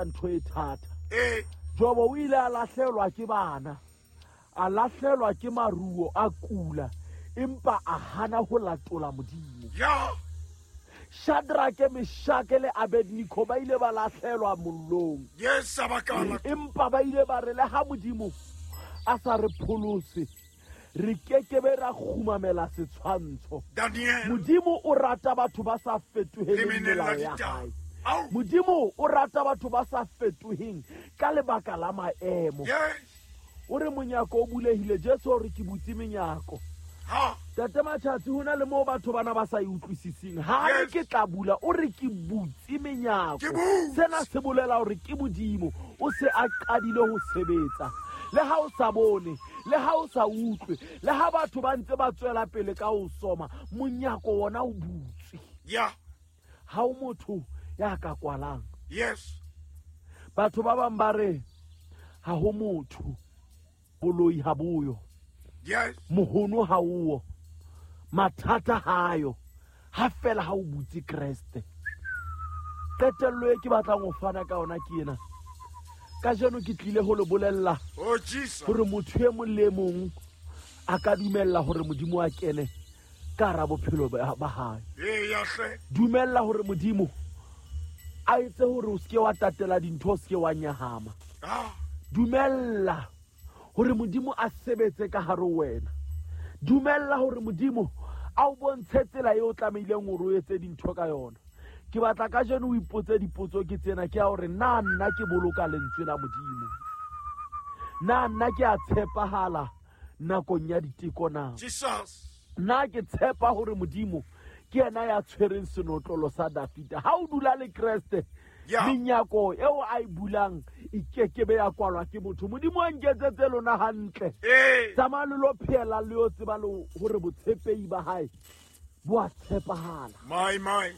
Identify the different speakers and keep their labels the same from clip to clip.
Speaker 1: Ntho e thata. Jobo o ile a lahlelwa ke bana, a lahlelwa ke maruo, a kula, empa a hana ho latola Modimo. Shadrake, Meshake le Abednego ba ile ba lahlelwa mollong.
Speaker 2: Yes, abakala.
Speaker 1: Empa ba ile ba re le ha Modimo a sa re pholose, re kekebe ra kgumamela setshwantsho.
Speaker 2: Daniel.
Speaker 1: Modimo o rata batho ba sa fetoheleng melao ya hae. Modimo o rata batho ba sa fetoheng ka lebaka la maemo. O re monyako o bulehile, Jesu o re ke butse menyako. Tate Matšhatsi, ho na le moo batho bana ba sa e utlwisiseng. Ha re ke tla bula, o re ke butse menyako. Sena se bolela hore ke Modimo o se a qadile ho sebetsa. Le ha o sa bone, le ha o sa utlwe, le ha batho ba ntse ba tswela pele ka ho soma, monyako wona o butswe. Ha o motho ya ka kwalang. Batho ba bang ba re ha ho motho, boloi ha boyo. Mohono ha o, mathata hayo, ha fela ha o butse Kreste. Qetello e ke batlang ho fana ka yona ke ena. Kajeno ke tlile ho le bolella hore motho e mong le mong a ka dumella hore Modimo a kene ka hara bophelo ba hae. Dumella hore Modimo a etse hore o seke wa tatela dintho, o seke wa nyahama. Dumella hore Modimo a sebetse ka hare ho wena. Dumella hore Modimo a o bontshe tsela eo o tlamehileng hore o etse dintho ka yona. Ke batla kajeno o ipotse dipotso ke tsena, ke ya hore na nna ke boloka lentswe la Modimo? Na nna ke a tshepahala nakong ya diteko na? Na ke tshepa hore Modimo ke yena ya tshwereng senotlolo sa Dafida? Ha o dula le Kreste, menyako eo a e bulang e kekebe ya kwalwa ke motho. Modimo a nketsetse lona hantle. Tsamaya le lo phela le yo tseba le hore botshepehi ba hae bo a tshepahala.
Speaker 2: My, my.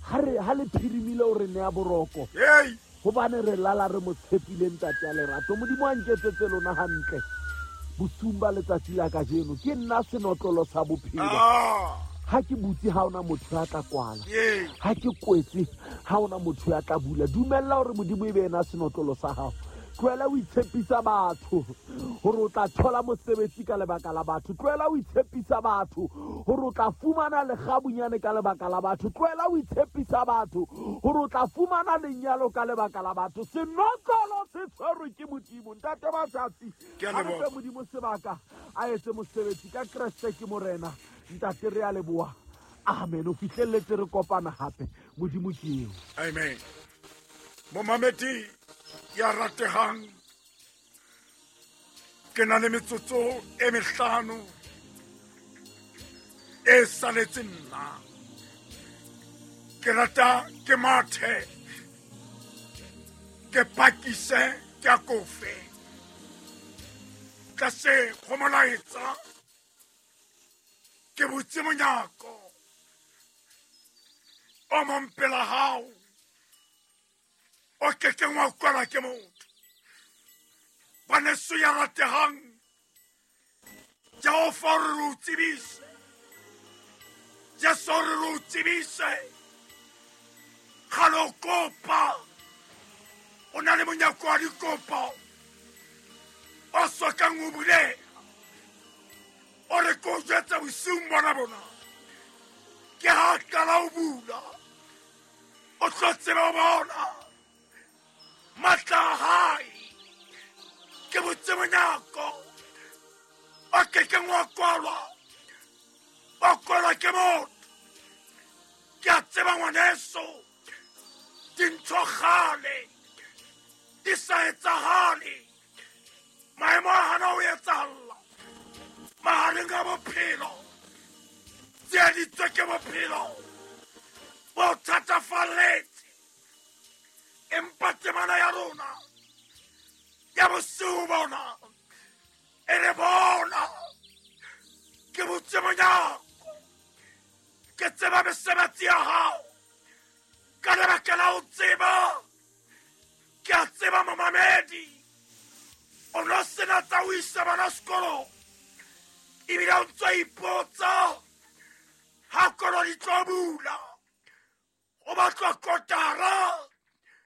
Speaker 1: Ha re, ha le phirimile o re nea boroko. Hobane re lala re mo tshepile Ntate ya lerato. Modimo a nketsetse lona hantle bosiung ba letsatsi la kajeno. Ke nna senotlolo sa bophelo. Ha ke butse ha ona motho ya tla kwala. Ha ke kwetse ha ona motho ya tla bula. Dumella hore Modimo e be yena senotlolo sa hao. Tlohela ho itshepisa batho hore o tla thola mosebetsi ka lebaka la batho. Tlohela ho itshepisa batho hore o tla fumana lekgabunyane ka lebaka la batho. Tlohela ho itshepisa batho hore o tla fumana lenyalo ka lebaka la batho. Senotlolo se tshwerwe ke Modimo. Ntate Matsatsi, a re fe Modimo sebaka a etse mosebetsi ka Kreste ke Morena. Ntate, re a leboha. Amen. O fihlelletse re kopana hape. Modimo ke eo.
Speaker 2: Amen. Momamedi ya ratehang, ke na le metsotso e mehlano e saletse nna. Ke rata ke mathe, ke pakise, ke akofe. Tlase go molaetsa, ke butse monyako o mong pela hao o kekeng wa kwalwa ke motho. Ngwaneso ya ratehang, Jehova o re re o tsebise, Jesu o re re o tsebise, kgale o kopa, o na le monyako wa dikopo o sokang o buleha. O re ke o jwetsa bosiung bona bona, ke ha qala o bula, o tlo tseba o bona matla a hae. Ke botse monyako o kekeng wa kwalwa, wa kwalwa ke motho. Ke a tseba ngwaneso, dintho kgale di sa etsahale, maemo a hana ho etsahalla mahareng a bophelo, tsieditswe ke bophelo bo thatafalletse. Empa temana ya rona ya bosiu bona e re bona ke botse monyako, ke tseba mesebetsi ya hao. Ka lebaka la ho tseba, ke a tseba momamedi o no sena tsa ho isa bana sekolong, ebile o ntso ipotsa ha kolo di tlo bula, o batlwa kotara.